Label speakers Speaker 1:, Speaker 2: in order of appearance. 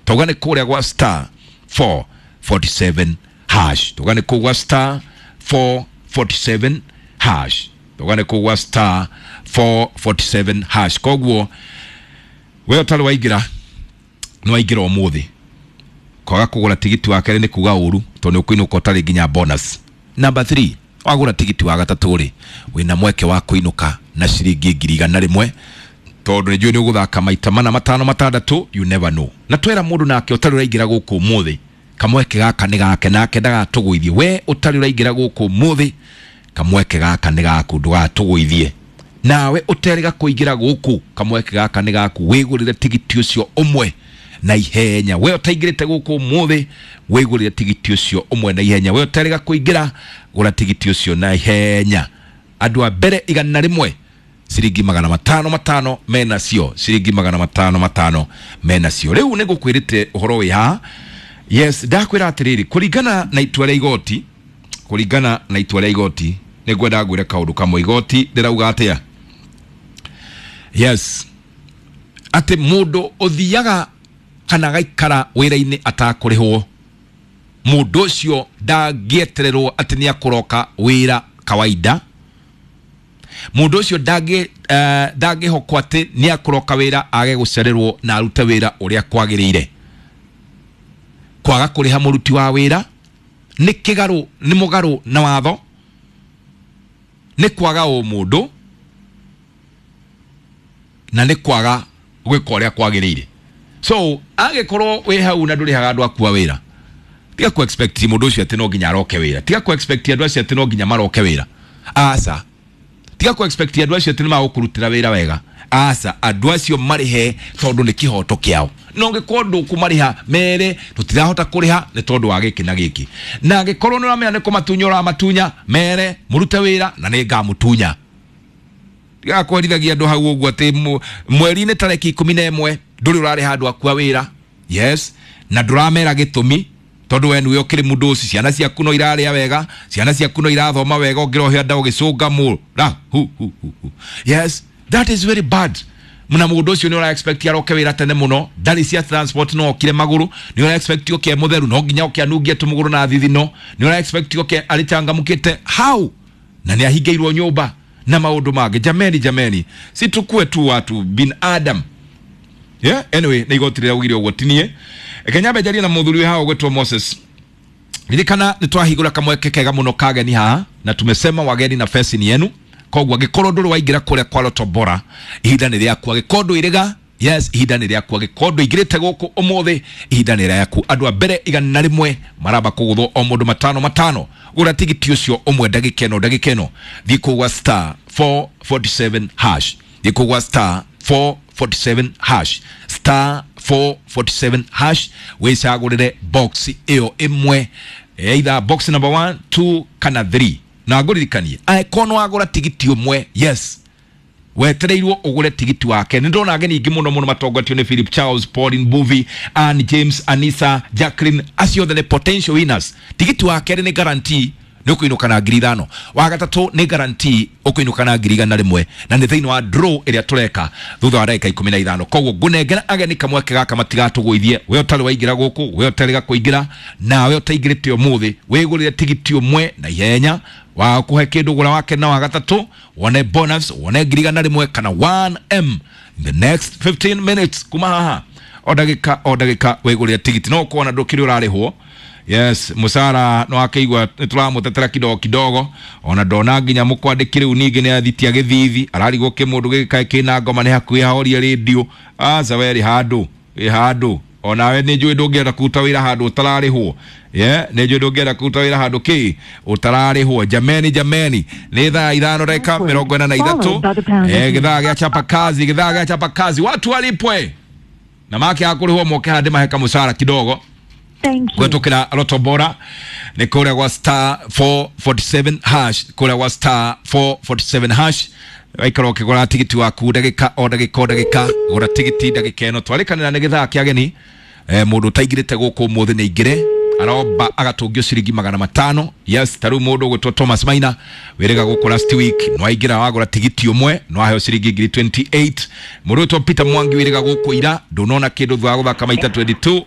Speaker 1: Tauga nĩ kũrĩa gwa star 447 hash. Tauga nĩ kũu gwa star 447 hash. Tauga nĩ kũu gwa star 447 hash. Koguo we ũtarĩ waingĩra, nĩ waingĩra ũmũthĩ. Kwaga kũgũra tigiti wa kerĩ nĩ kuga ũru, tondũ nĩ ũkũinũka ũtarĩ nginya bonus. Number 3, wagũra tigiti wa gatatũ rĩ, wĩna mweke wa kũinũka na ciringi 100,000, tondũ nĩ njũĩ nĩ ũgũthaka maita mana, matano, matandatũ, you never know. Na twera mũndũ nake ũtarĩ ũraingĩra gũkũ ũmũthĩ, kamweke gaka nĩ gake, nake ndagatũgũithie. We ũtarĩ ũraingĩra gũkũ ũmũthĩ, kamweke gaka nĩ gaku, ndũgatũgũithie. Nawe ũterĩga kũingĩra gũkũ, kamweke gaka nĩ gaku, wĩgũrĩre tigiti ũcio ũmwe na ihenya. We ũtaingĩrĩte gũkũ ũmũthĩ, wĩgũrĩre tigiti ũcio ũmwe na ihenya. We ũterĩga kũingĩra, gũra tigiti ũcio na ihenya. Andũ a mbere 100, ciringi 500 500 menacio, ciringi 500 500 menacio. Rĩu nĩ ngũkwĩrĩte ũhoro wĩ haha. Yes, ndakwĩra atĩrĩrĩ, kũringana na itua rĩa igoti, kũringana na itua rĩa igoti, nĩ ngwenda ngwĩre kaũndũ kamwe. Igoti rĩrauga atĩa? Yes, atĩ mũndũ ũthiaga kana agaikara wĩra-inĩ atakũrĩhwo, mũndũ ũcio ndangĩetererwo atĩ nĩ akũroka wĩra kawaida. Mũndũ ũcio ndangĩhokwo atĩ nĩ akũroka wĩra age gũcererwo na arute wĩra ũrĩa kwagĩrĩire. Kwaga kũrĩha mũruti wa wĩra nĩ kĩgarũ, nĩ mũgarũ na watho, nĩ kwaga ũmũndũ na nĩ kwaga gwĩka ũrĩa kwagĩrĩire. So angĩkorwo wĩ hau na ndũrĩhaga andũ aku a wĩra, tiga ku expect mũndũ ũcio atĩ no nginya aroke wĩra. Tiga ku expect andũ acio atĩ no nginya maroke wĩra. Aca, tiga ku expect andũ acio atĩ nĩ magũkũrutĩra wĩra wega. Aca, andũ acio marĩhe tondũ nĩ kĩhoto kĩao. No ũngĩkorwo ndũkũmarĩha, mere tũtirahota kũrĩha nĩ tondũ wa gĩkĩ na gĩkĩ. Na angĩkorwo nĩ ũramenya nĩ kũmatunya ũramatunya, mere mũrute wĩra na nĩ ngamũtunya. Tiga kwerithagia andũ hau ũguo atĩ mweri-inĩ tarĩki 11 ndũrĩ ũrarĩha andũ aku a wĩra. Yes, na ndũramera gĩtũmi, tondũ we nĩwe ũkĩrĩ mũndũ ũcio, ciana ciaku no irarĩa wega, ciana ciaku no irathoma wega, ũngĩrohĩa nda ũgĩcũnga mũra hu hu hu hu. Yes, that is very bad. Na mũndũ ũcio nĩ ũra expect aroke wĩra tene mũno, ndarĩ cia transport, no okire magũrũ, nĩ ũra expect oke mũtheru, no nginya oke anungie tũmũgũrũ na thithino, nĩ ũra expect oke arĩ changamũkĩte how, na nĩ ahingĩirwo nyũmba na maũndũ mangĩ. Jameni, jameni, si tukue tu watu binadamu. Yeah, anyway, nĩ igoti rĩraugire ũguo tinie. Kenya mbe na mũthuri wĩ haha ũgwĩtwo Moses. Ririkana nĩ twahingũra kamweke kega mũno kageni haha, na tumesema wageni na fesi ni yenu. Koguo angĩkorwo ndũrĩ waingĩra kũrĩa kwa Lotto Bora, ihinda nĩ rĩaku. Angĩkorwo ndũirĩga, yes, ihinda nĩ rĩaku. Angĩkorwo ndũingĩrĩte gũkũ ũmũthĩ, ihinda nĩ rĩaku. Andũ a mbere 100 maramba kũgũthwo o mũndũ matano matano. Gũra tigiti ũcio ũmwe ndagĩka ĩno, ndagĩka ĩno. Thiĩ kũu gwa star 447 hash. Thiĩ kũu gwa star 447 hash. Star 447 hash, wĩcagũrĩre box ĩyo ĩmwe, either box number 1, 2 kana 3. Na ngũririkanie, angĩkorwo nĩ wagũra tigiti ũmwe, yes, wetereirwo ũgũre tigiti wake. Nĩ ndona ageni aingĩ mũno mũno matongoretio nĩ Philip Charles, Pauline Buvi, Ann James, Anisa, Jacqueline, acio othe nĩ potential winners. Tigiti wa kerĩ nĩ guarantee nĩ ũkũinũka na 5,000. Wa gatatũ nĩ guarantee ũkũinũka na 100,000, na nĩ thĩinĩ wa draw ĩrĩa tũreka thutha wa ndagĩka 15. Koguo ngũnengera ageni kamweke gaka matigatũgũithie. We ũtarĩ waingĩra gũkũ, we ũtarĩ kũingĩra, nawe ũtaingĩrĩte ũmũthĩ, wĩgũrĩre tigiti ũmwe na ihenya wa kũhe kĩndũ, gũra wake na wa gatatũ, wone bonus, wone 100,000 kana 1M in the next 15 minutes kuma haha. O ndagĩka o ndagĩka wĩgũrĩre tigiti, no ũkona ndũkĩrĩ ũrarĩhwo. Yes, mũcara no akĩigua nĩ tũramũtetera kidogo kidogo, ona ndona nginya mũkwandĩki rĩu ningĩ nĩ athitia gĩthithi, ararigwo kĩmũndũ gĩgĩkae kĩna ngoma nĩ hakuhĩ ahorie rĩndio. Aca, we rĩ handũ wĩ handũ, onawe nĩ njũĩ ndũngĩenda kũruta wĩra handũ ũtararĩhwo. Yeah, nĩ njũĩ ndũngĩenda kũruta wĩra handũ kĩ ũtararĩhwo. Jameni, jameni, nĩ thaa 5 ndagĩka 43, gĩthaa gĩa chapa kazi, gĩthaa gĩa chapa kazi, watu walipwe na make akũrĩhwo moke haha ndĩmahe kamũcara kidogo. Kũhetũkĩra Lotto Bora nĩ kũrĩa gwa star 447 hash, kũrĩa gwa star 447 hash. Waikara ũkĩgũra tigiti waku ndagĩka o ndagĩka o ndagĩka, gũra tigiti ndagĩka ĩno. Twarĩkanĩra nĩ gĩthaa kĩa ageni. Mũndũ ũtaingĩrĩte gũkũ ũmũthĩ nĩ aingĩre, aromba agatũngio ciringi 500. Yes, ta rĩu mũndũ ũgwĩtwo Thomas Maina wĩrĩga gũkũ last week, no aingĩra wagũra tigiti ũmwe no aheo ciringi ngiri 28. Mũndũ ũgwĩtwo Peter Mwangi wĩrĩga gũkũ ira, ndũnona kĩndũ thutha wa gũthaka maita 22.